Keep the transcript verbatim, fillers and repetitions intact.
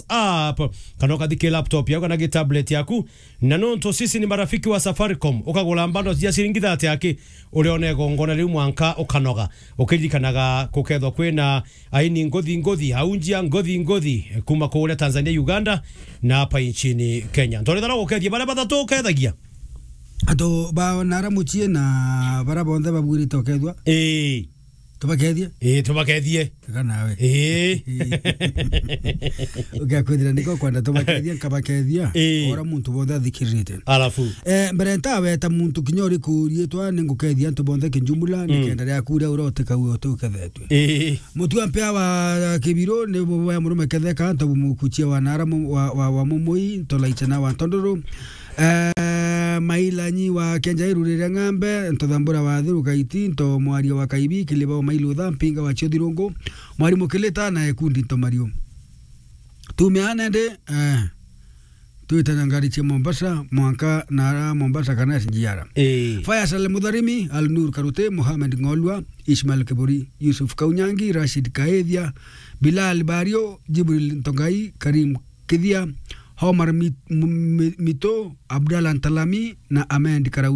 app, kana ukathi ki laptop yaku kana ki tablet yaku. Na nontu sisi ni marafiki wa Safaricom, ukagura bundles cia ciringi thirty aki, urione igongona riu mwanka ukanoga, ukiririkanaga kukethwa kwina aini nguthi nguthi, aunjia nguthi nguthi, kuma kuria Tanzania, Uganda, na hapa nchini Kenya. Ntorethana gukethia baria bathatu ukethagia. Antu ba Nara mucii na baria bonthe babwirite ukethwa. Ii. Tubakethie? Ii, tubakethie. Tiga nawe. Ii. Ugakwithira niko kwenda tubakethia, nkabakethia. Ii. Ora muntu bonthe athikiririte. Alafu? Eh, mbere ntaweta muntu kinya uriku riitwa, ningukethia antu bonthe kijumla, Mm. nikenda riaku ria urotika uyo utukethetwe. Ii. Mutua mpea wa Kibiru ni bo wa murume ketheka, nto mukuchia wa Nara mu-, wa, wa, wa Mumui, nto Laichana wa Ntondoro. Eh, Mailanyi wa Kenjairu rire ng'ambe, nto Thambura wa Thiru Kaiti, nto Mwaria wa Kaibi, Kiliba wa Mailutha, Mpinga wa Chiothirungu, Mwarimu Kilita na Ekundi nto Mario. Tumeana ndi, eh, twite na ngari cia Mombasa, mwanka Nara Mombasa kana S G R. Ii. Faisal Mudharimi, Al Nur Karute, Mohamed Ng'olwa, Ismail Kiburi, Yusuf Kaunyangi, Rashid Kaethia, Bilal Bario, Jibril Ntongai, Karim Kithia, Omar Mi-, M-, Mi-, Mito, Abdallah Ntalami na Ahmed Karau.